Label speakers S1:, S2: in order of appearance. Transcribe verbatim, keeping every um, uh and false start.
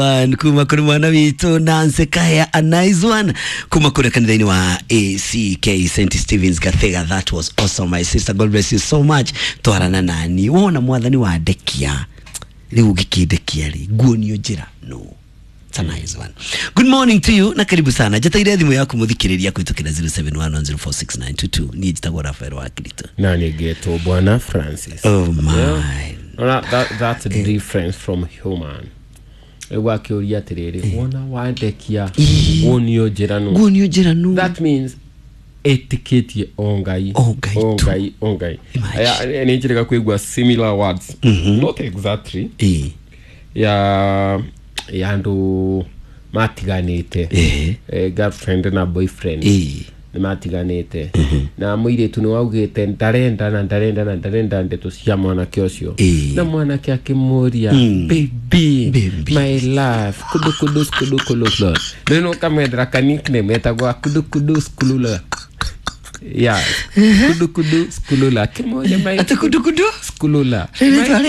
S1: One kuma kuri mwana witũ Nancy Kaya, a nice one kuma kũrĩa kanitha-inĩ wa A C K Saint Stevens Gathiga. That was awesome, my sister. God bless you so much. Twarana nani wona mwathani wandekia rĩu ũngĩkĩndekia rĩ nguonio njĩra no. It's a nice one. Good morning to you na karibu sana. Njataire thimũ yaku mũthikĩrĩria kũhĩtũkĩra zero seven one one zero four six nine two two. Niĩ njĩtagwo Rafael wa Kirito.
S2: Na nĩngetwo Bwana Francis.
S1: Oh my.
S2: Ona, that, that's a difference from human. Rĩu akĩũria atĩrĩrĩ, wona wandekia wonio njĩra nũ?
S1: Nguonio njĩra nũ?
S2: That means ĩtĩkĩtie o Ngai.
S1: O Ngai
S2: o
S1: tu.
S2: Ngai, o Ngai.
S1: Imagine.
S2: Aya, nĩ njĩrĩga kũigua similar words, not exactly,
S1: Ĩĩ.
S2: ya ya andũ matiganĩte.
S1: Ĩĩ.
S2: Eh, girlfriend na boyfriend
S1: Ĩĩ.
S2: nĩ matiganĩte na mũirĩtu nĩ waugĩte ndarenda na ndarenda na ndarenda ndeto cia mwanake ũcio.
S1: Ĩĩ.
S2: Na mwanake akĩmũria, "Baby,
S1: Baby.
S2: my love, kudu kudu kudu kudu kudu." Rĩu nĩ ũkamwethera ka nickname etagwa kudu kudu skulula ya kudu kudu skulula, akĩmũria, "My
S1: Atĩ kudu kudu?
S2: skulula."
S1: Rĩrĩ rĩtwa rĩa